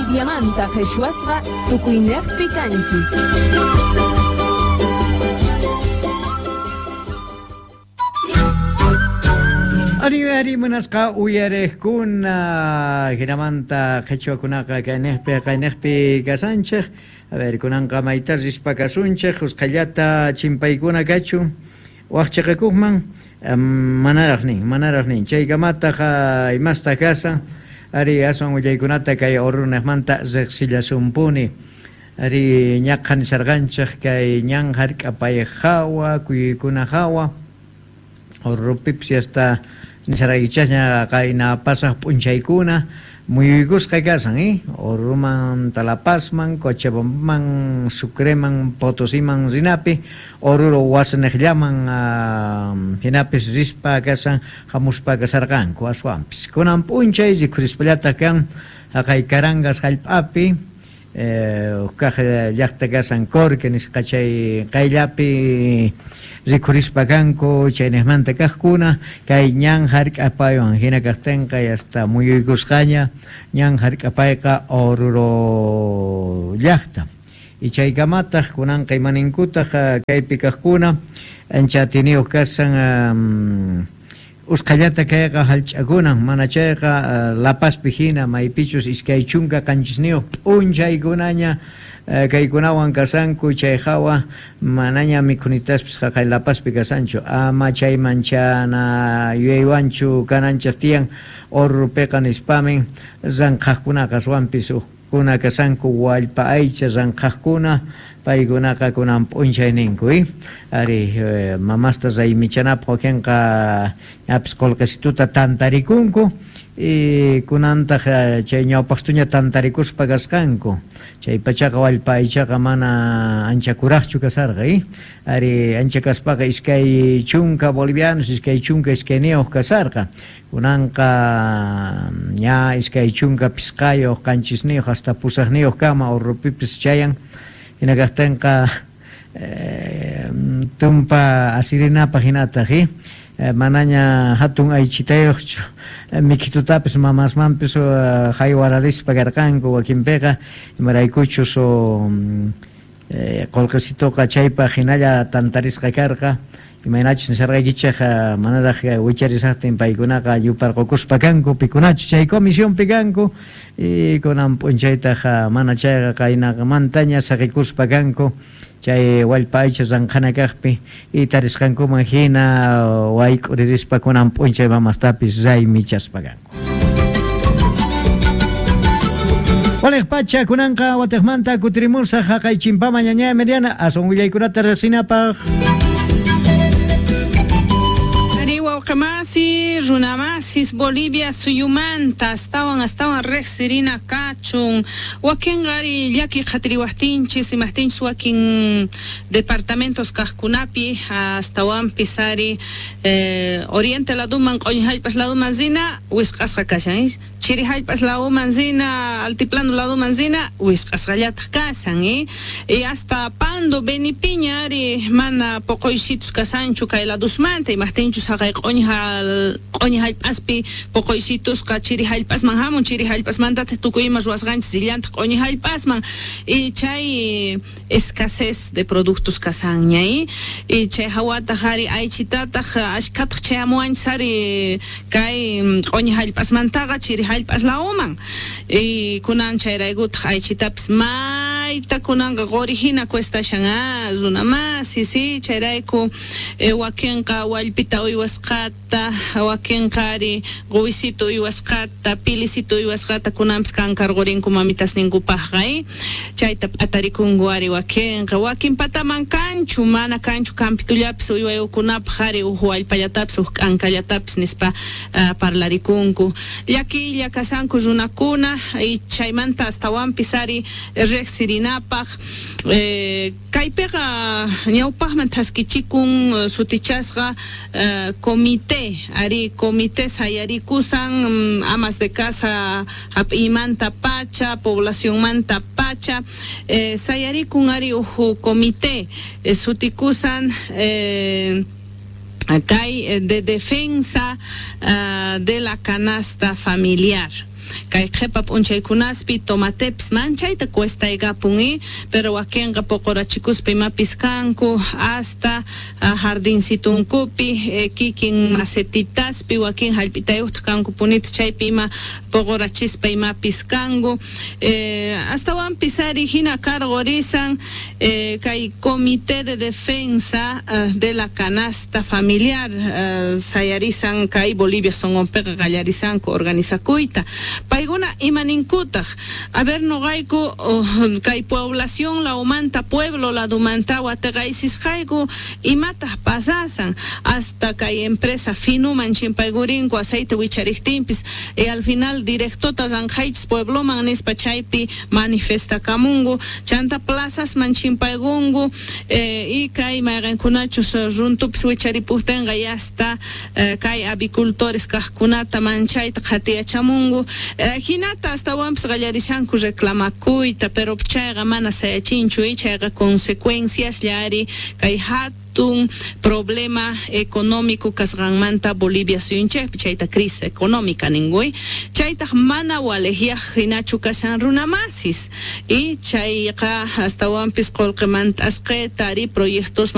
Boliviamanta qhichwasqa tukuynejpi kanchis. Ari ari munasqa uyariqkuna hinamanta qhichwakunaqa kaynejpi qaynejpi kasanchej. A ver, kunanqa mayta rispa kasunchej, usqhayllata chimpaykuna kachun. Waj cheqakojman manaraj nin, manaraj nin. Chaykamataq imasta kasan, ari aswan willaykunata kay Oruro-nejmanta riqsillasunpuni. Ari ñaqha nisharqanchej kay ñan jark'apay jawa, kuyuykuna jawa, Orurupipis yasta nisharqaykichasña qayna pasaj p'unchaykuna muyuykusqa kasan, Oruruman, La Pazman, Cochabambaman, Sucreman, Potosiman rinapi, Oruro wasinejllaman jinapis rispa kasan, jamuspa kasarqanku aswanpis. Kunan p'unchay rikhurispallataq kan jaqay Carangas jallp'api, Uj kaj llajta kasan Corque nisqa chay qayllapi rikhurispa kanku chaynejmanta kajkuna kay ñan jark'apaywan jina kajtenqa hasta muyuykusqaña ñan jark'apayqa Oruro llajta. Y chaykamataq kunanqa imaninkutaq kaypi kajkuna ancha atiniyuq kasan usqhayllata kayqa jallch'akunan, mana chayqa La Pazpi hina maypichus 27 p'unchaykunaña kaykunawan kasanku chay jawa manaña mikhunitaspis jaqay La Pazpi kasanchu, ama chayman chana yuyaywanchu kananchej tiyan Orurupiqa nispamin ranqhajkunaqa aswanpis ujkuna kasanku wallpa aycha ranqhajkuna paykunaqa kunan p'unchay ninku, ari mamasta raymichanapaq wakinqa ñapis qolqesituta tantarikunku y kunantaq chay ñawpaqstuña tantarikuspa kasqanku chay pachaqa wallpa aychaqa mana ancha kuraqchu kasarqa, ari ancha kaspaqa 20 bolivianos, 22 kasarqa, kunanqa ña 25, 7 hasta 8 kama Orurupipis chayan, hina kajtinqa tumpa asirinapaq hinataq, manaña hatun aychitayuqchu mikhitutapis mamasmanpis haywararispa karqanku wakinpiqa imaraykuchus qolqesituqa chaypaq hinalla tantarisqa karqa imaynachus nisharqaykichej manaraj wicharisaqtin paykunaqa yuparqukuspa kanku pikunachus chay comisionpi kanku y kunan p'unchaytaq mana chayqa qaynamantaña saqikuspa kanku chay wallpa aycha ranqhana kaqpi y tarisqankuman hina wayk'uririspa kunan p'unchay mamastapis raymichaspa kanku. Waliq pacha kunanqa watiqmanta kutirimusaq jaqay chimpama ñaña Emiliana aswan willaykunata riqsinapaq. Ari wawqimasi, runamasis, Bolivia suyumanta astawan astawan riqsirina kachun. Wakinqa ari llaki qhatiriwaqtinchis, imaqtinchis wakin departamentos kaqkunapi astawanpis ari oriente laduman, q'uñi hallp'as laduman rina wisq'asqa kashan, chiri hallp'as laduman rina, altiplano laduman rina wisq'asqallataq kashan, y hasta Pando, Benipiña ari mana poqoysitus kasanchu kay ladusmanta, imaqtinchus haqay q'uñi hallp'aspi poqoysitusqa chiri hallp'asman hamun, chiri hallp'asmantataq tukuy ima ruwasqanchis rillantaq q'uñi hallp'asman, y chay escasez de productos kasanña, y chay hawataq ari aychitataq ashkhataq chayamuwanchis ari kay q'uñi hallp'asmantaqa chiri hallp'as lawman, y kunan chayraykutaq aychitapis mayta kunanqa quri hina cuestashan, runamasi, si, chayrayku wakinqa wallpita uywasqata, wakinqa ari quwisito uywasqata, pilisito uywasqata kunanpis kankarqurinku mamitasninkupaqqa, chayta p'atarikunku ari wakinqa, wakin pataman kanchu, mana kanchu campitullapis uywayukunapaq ari uj wallpallatapis uj k'ankallatapis nispa parlarikunku. Llakiylla kasanku runakuna y chaymanta astawanpis ari riqsirinapaq kaypiqa ñawpaqman thaskichikun sutichasqa comité, ari comité sayarikusan amas de casa hap'iymanta pacha, poblacionmanta pacha, sayarikun ari uj comité sutikusan kay de defensa de la canasta familiar. Kay qhepa p'unchaykunaspi tomatepis manchayta cuestaykapun pero wakinqa poqorachikuspa imapis kanku hasta jardincitunkupi kikin macetitaspi wakin jallp'itayuqta kanku punita chaypi ima poqorachispa imapis kanku astawanpis ari hina karqurisan kay Comité de Defensa de la Canasta Familiar sayarisan kay Bolivia sonqonpiqa qallarisanku organizakuyta paykuna imaninkutaq a ver noqayku kay población lawmanta pueblo ladumanta wateqaysisqayku imataq pasasan hasta kay empresa finuman chimpaykurinku aceite wichariqtinpis y al final directota ranqaychis puebloman nispa chaypi manifestakamunku chanta plazasman chimpaykunku y kay mayqinkunachus runtupis wicharipujtinqa yasta kay avicultores kaqkunata manchayta qhatiyachamunku hinata astawanpis qallarishanku reclamakuyta pero chayqa mana sayachinchu chayqa consecuencias llari kay hatun problema económico kasqanmanta Bolivia suyunchikpi chayta crisis económica ninkuy chaytaq mana walejyaq hinachu kashan runamasis y chayqa astawanpis qullqimanta asqayta ari proyectosman.